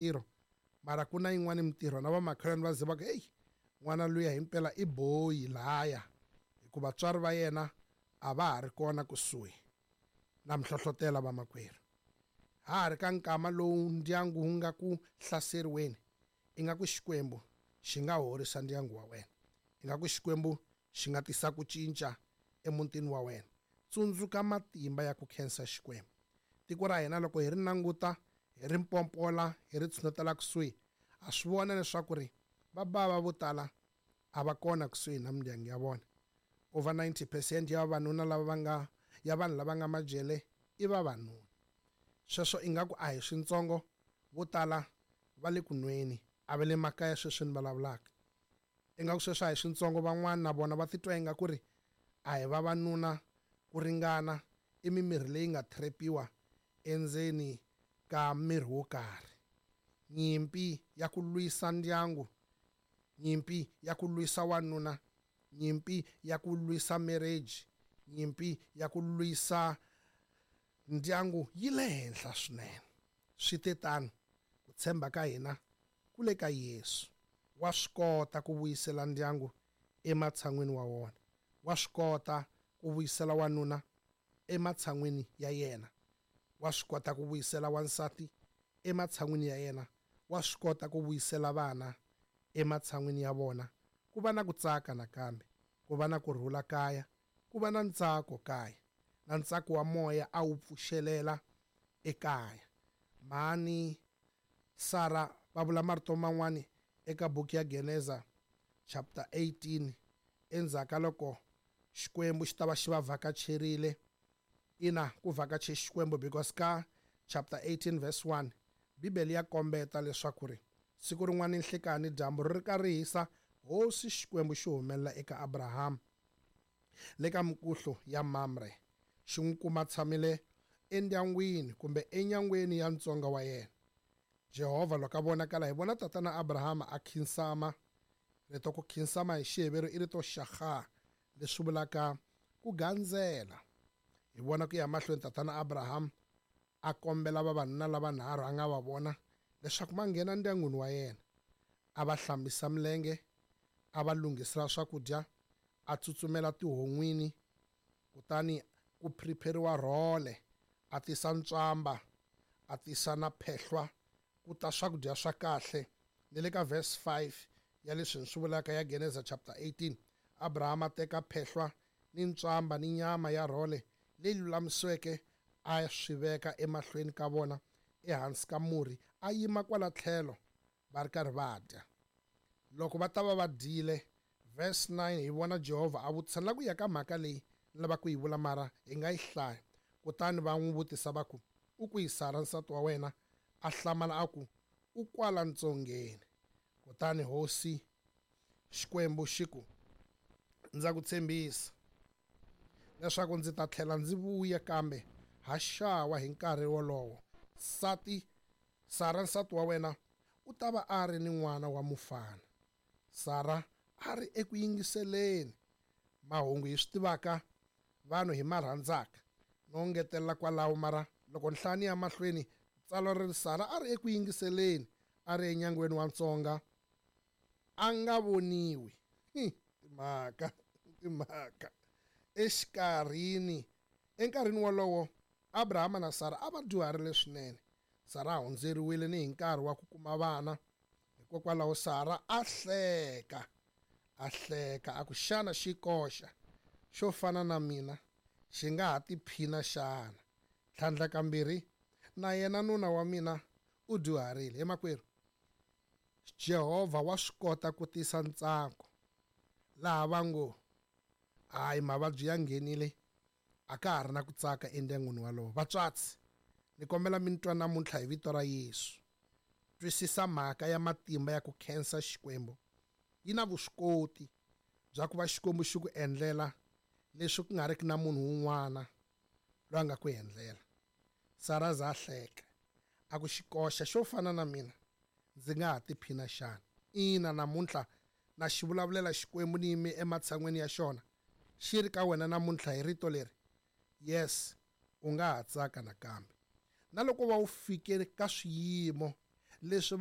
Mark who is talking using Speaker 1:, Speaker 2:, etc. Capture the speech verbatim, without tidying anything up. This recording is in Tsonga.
Speaker 1: Mintirho mara ku na yin'wani mintirho na vamakhelwani va ze va ku, heyi, n'wana luya himpela i boyi laya, hikuva vatswari va yena a va ha ri kona kusuhi. Na mi hlohlotela vamakwerhu, ha ha ri ka nkama lowu ndyangu wu nga ku hlaseriweni, ingaku Xikwembu xi nga horisa ndyangu wa wena, ingaku Xikwembu xi nga tisa ku cinca emutini wa wena. Tsundzuka matimba ya ku khensa Xikwembu. Tiko ra hina loko hi ri languta, hi ri mpompola, hi ri tshunetela kusuhi, ha swi vona leswaku ri vabava vo tala a va kona kusuhi na mindyangu ya vona. Over ninety percent ya vavanuna lava va nga ya vanhu lava nga majele i vavanuna. Sweswo ingaku a hi swintsongo, vo tala va le ku nweni, a va le makaya sweswi ni vulavulaka. Ingaku sweswo a hi swintsongo, van'wana na vona va titwa ingaku ri a hi vavanuna ku ringana, i mimirhi leyi nga trap-iwa endzeni ka miri wo karhi. Nyimpi ya ku lwisa ndyangu, nyimpi ya ku lwisa wanuna, nyimpi ya ku lwisa marriage, nyimpi ya ku lwisa ndyangu yi le henhla swinene. Swi te tano, ku tshemba ka hina ku le ka Yesu. Wa swi kota ku vuyisela ndyangu ematshan'wini wa wona, wa swi kota ku vuyisela wanuna ematshan'wini ya yena, wa swi kota ku vuyisela wansati ematshan'wini ya yena, wa swi kota ku vuyisela vana ematshan'wini ya vona, ku va na ku tsaka nakambe, ku va na ku rhula kaya, ku va na ntsako kaya, na ntsako wa moya a wu pfuxelela ekaya. Mhani Sara va vula marito man'wani eka buku ya Geneza chapter eighteen, endzhaku ka loko Xikwembu xi ta va xi va vhakacherile. Ina, ku vhakache Xikwembu, because ka chapter eighteen verse one Bibele ya kombeta leswaku ri siku rin'wana nhlikani dyambu ri ri ka ri hisa, hosi Xikwembu xi humelela eka Abraham le ka mikuhlu ya Mamre, xi n'wi kuma tshamile endyangwini kumbe enyangweni ya ntsonga wa yena. Jehovha loko a vonakala, hi vona tatana Abraham a khinsama. Rito ku khinsama hi Xiheveru i rito shaga, leswi vulaka ku gandzela. Hi vona ku ya mahlweni tatana Abraham a kombela vavanuna lavanharhu a nga va vona leswaku va nghena ndyangwini wa yena, a va hlambisa milenge, a va lunghisela swakudya, a tsutsumela tihon'wini, kutani ku prepare-riwa rhole, a tisa ntswamba, a tisa na phehlwa, ku ta swakudya swa kahle. Ni le ka verse five ya leswi ni swi vulaka ya Geneza chapter eighteen, Abraham a teka phehlwa ni ntswamba ni nyama ya rhole leyi lulamisiweke, a swi veka emahlweni ka vona ehansi ka murhi, a yima kwala tlhelo va ri karhi va dya. Loko va ta va va dyile, verse nine hi vona Jehovha a vutisa, la ku ya ka mhaka leyi ni lava ku yi vula mara hi nga yi hlaya. Kutani va n'wi vutisa va ku, u kwihi Sara nsati wa wena? A hlamala a ku, u kwala ntsongeni. Kutani hosi Xikwembu xi ku, ndza ku tshembisa leswaku ndzi ta tlhela ndzi vuya kambe ha xawa hi nkarhi wolowo. Sati Sara nsati wa wena u ta va a ri ni n'wana wa mufana. Sara a ri eku yingiseleni mahungu hi swi tivaka vanhu hi ma rhandzaka, no ngetelela kwalaho mara loko nhlani ya mahlweni tsalwa ri ri Sara a ri eku yingiseleni, a ri enyangweni wa ntsonga, a nga voniwi. Timhaka timhaka exikarhini enkarhini wolowo Abrahama na Sara a va dyuharile swinene. Sara a hundzeriwile ni hi nkarhi wa ku kuma vana, hikokwalaho Sara a hleka, a hleka a ku, xana xikoxa xo fana na mina xi nga ha tiphina xana? Tlhandla kambirhi na yena nuna wa mina u dyuharile. He makwerhu, Jehovha wa swi kota ku tisa ntsako laha va ngo hayi mavabyi ya nghenile, a ka ha ri na ku tsaka endyangwini walowo. Vatswatsi, ni kombela mi twa namuntlha hi vito ra Yesu. Twisisa mhaka ya matimba ya ku khensa Xikwembu. Yi na vuswikoti bya ku va Xikwembu xi ku endlela leswi ku nga riki na munhu wun'wana loyi a nga ku endlela. Sara za hleka a ku, xikoxa xo fana na mina ndzi nga ha tiphina xana? Ina, namuntlha na xi vulavulela Xikwembu ni yime ematshan'weni ya xona, xi ri ka wena namuntlha hi rito leri, yes, u nga ha tsaka nakambe. Na loko va wu fike ka swiyimo Leswi